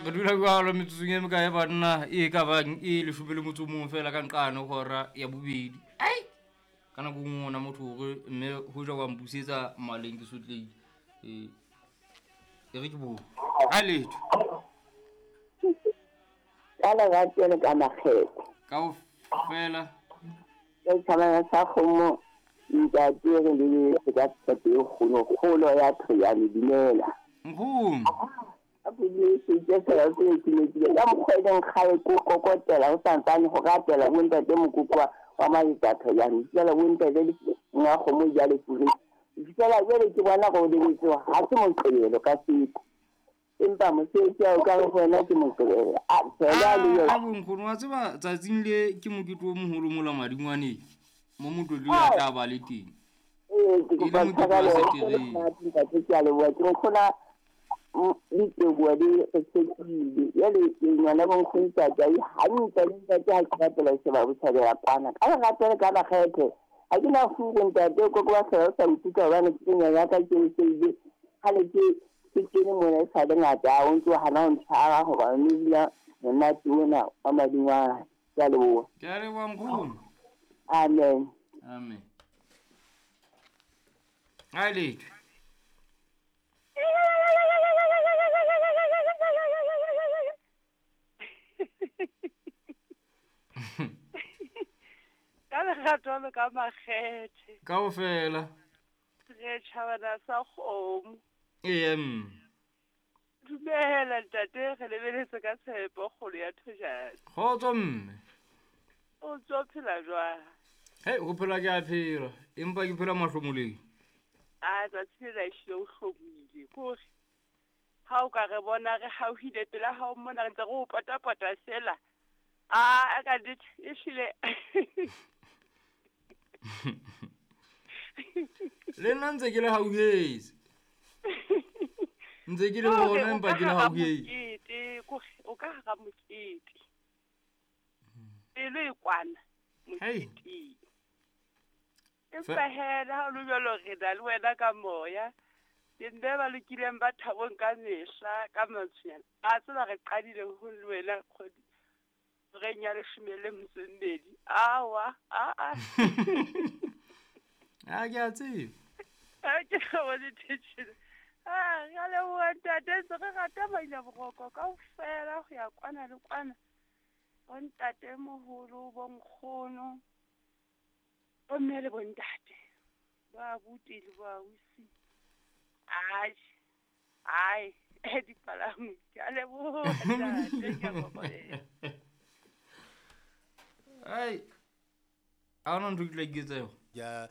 Re dula jwalo metsotsong e mekae banna e ka bang e leshome le motso o mong fela ka nqane hora ya bobedi. Ai! Ka nako e nngwe ona motho hore mme hoja wa mpusetsa maleng ke sotlehile. E e re ke bo. Ha letho. Ka lerato le ka makgetho. Kaofela. Ka tšhabana sa kgomo ntate re lebeletse ka tshepo e kgolo kgolo ya Thoyane dumela. Nkgono. A phodile se fela se ke ka mokgwa e leng kgale ko kokotela ho santsane ho ratela bo ntate mokoko wa maletsa Thoyane fela bo ntate le nga kgomo ja le fure. Fela jwale ke bona go lebetse ha se moqebelo ka sepo. Empa mosebetsi wa o ka re ho wena ke moqebelo. A fela le yona. A bonkgono wa tseba tsatsing le ke mokete o moholo mola madingwaneng. Mo motlotlo ya tla ba le teng. Ee, ke kopa tshwarelo ntate ke a leboha ke nkgona diteboa di re tshepile jale ke ngwana bonkgono ntate ai hantle le ntate ha ke rapela sheba botjhabela kwana ka lerato le ka makgethe ha ke na furu ntate o koko ba fela o sa nkutlwa hobane ke nyanya ka ke seile kgale ke ke kene mona e sa le ngata o ntse o hana ho ntshwara hobane o bina monate ona wa madingwana ke a leboha. Ke a leboha nkgono. Amen. Amen. Ha letho. Ka lerato le ka makgethe. Kaofela. Re tjhabana sa kgomo. Ee mme. Dumela ntate, re lebeletse ka tshepo kgolo ya Thojane. Kgotso mme. O ntso phela jwang? Hei, ho phela ke a phela, empa ke phela mahlomoleng. A tsatsi lena ehlile o hlomohile kore ha o ka re bona re hauhile pela hao mona re ntse re o potapota fela. A ka nnete ehlile. Le nna ntse ke le hauhetse. Ntse ke le bona empa ke le hauhetse. Kore o ka hara mokete. Pelo e kwana moketeng. Empa hee le ha o le jwalo re na le wena ka moya. Ke mme ba lokileng ba thabong ka mehla ka mantswenyana. A tseba re qadile ho le wena kgwedi horeng ya leshome le metso e mmedi. Awa, aa. A ke a tseba. A ke bone thetsile. A re a leboha ntate ntse re rata maina boroko kaofela ho ya kwana le kwana. Bo ntate moholo, bo nkgono, bo mme le bo ntate. Ba abuti le bo ausi. Atjhe. Ai, dipalangwe. Ke a leboha ntate, ke a kokobela. Ai. Ha hona ntho ke tla iketsa yona.